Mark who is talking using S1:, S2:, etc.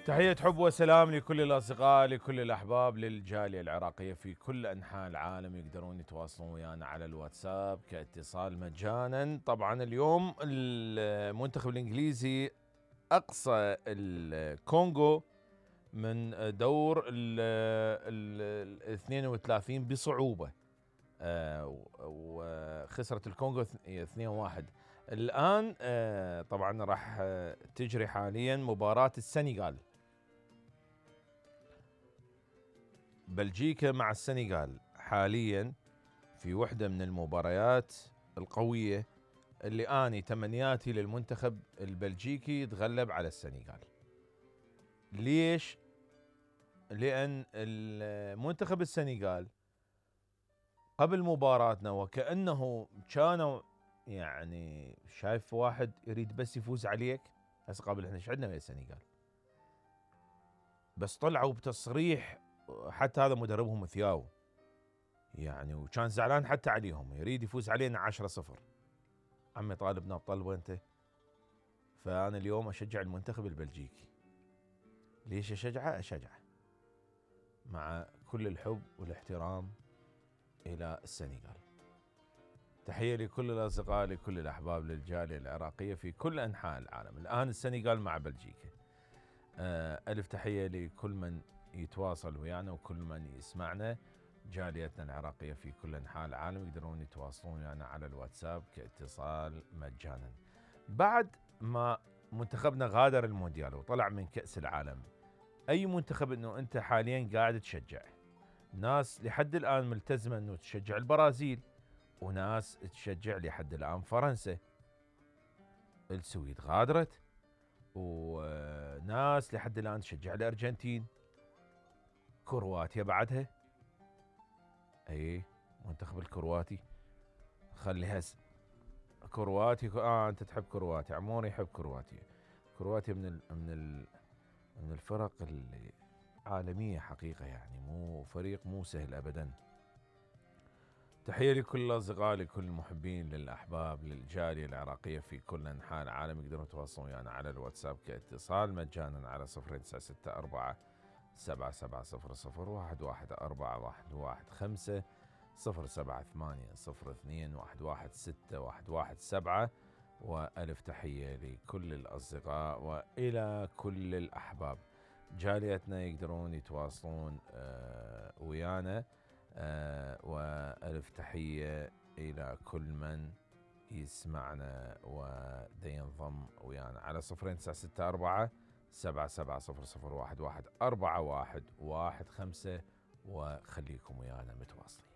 S1: تحية حب وسلام لكل الأصدقاء، لكل الأحباب، للجالية العراقية في كل أنحاء العالم. يقدرون يتواصلون ويانا على الواتساب كاتصال مجانا. طبعا اليوم المنتخب الإنجليزي أقصى الكونغو من دور ال 32 بصعوبة، وخسرت الكونغو 2-1. الآن طبعا راح تجري حاليا مباراة السنغال، بلجيكا مع السنغال حاليا في وحدة من المباريات القوية اللي أني تمنياتي للمنتخب البلجيكي يتغلب على السنغال. ليش؟ لأن المنتخب السنغال قبل مباراتنا وكأنه كانوا يعني شايف واحد يريد بس يفوز عليك. هسه قبل احنا ايش عندنا ويا السنغال، بس طلعوا بتصريح، حتى هذا مدربهم ثياو يعني، وكان زعلان حتى عليهم، يريد يفوز علينا 10-0. عمي طالبنا بطلبه انت. فانا اليوم اشجع المنتخب البلجيكي. ليش اشجعه؟ اشجعه مع كل الحب والاحترام الى السنغال. تحية لكل الأصدقاء، لكل الأحباب، للجالية العراقية في كل أنحاء العالم. الآن السنغال مع بلجيكا. ألف تحية لكل من يتواصل ويانا وكل من يسمعنا. جاليتنا العراقية في كل أنحاء العالم يقدرون يتواصلون ويانا على الواتساب كاتصال مجانا. بعد ما منتخبنا غادر المونديال وطلع من كأس العالم، أي منتخب أنه أنت حاليا قاعد تشجع؟ ناس لحد الآن ملتزمة أنه تشجع البرازيل، وناس تشجع لحد الآن فرنسا. السويد غادرت، وناس لحد الآن تشجع الأرجنتين. كرواتيا بعدها، اي منتخب الكرواتي خليها كرواتي. انت تحب كرواتيا، عموري يحب كرواتيا. كرواتيا من الفرق العالمية حقيقة، يعني مو فريق مو سهل أبدا. تحية لكل الأصدقاء، لكل المحبين، للأحباب، للجالية العراقية في كل أنحاء العالم. يقدرون يتواصلون ويانا على الواتساب كاتصال مجانا على 0964 7700 11415 078 02 116 وألف تحية لكل الأصدقاء وإلى كل الأحباب. جاليتنا يقدرون يتواصلون ويانا، وألف تحية إلى كل من يسمعنا وينضم ويانا على 0964 7700 11415 وخليكم ويانا متواصلين.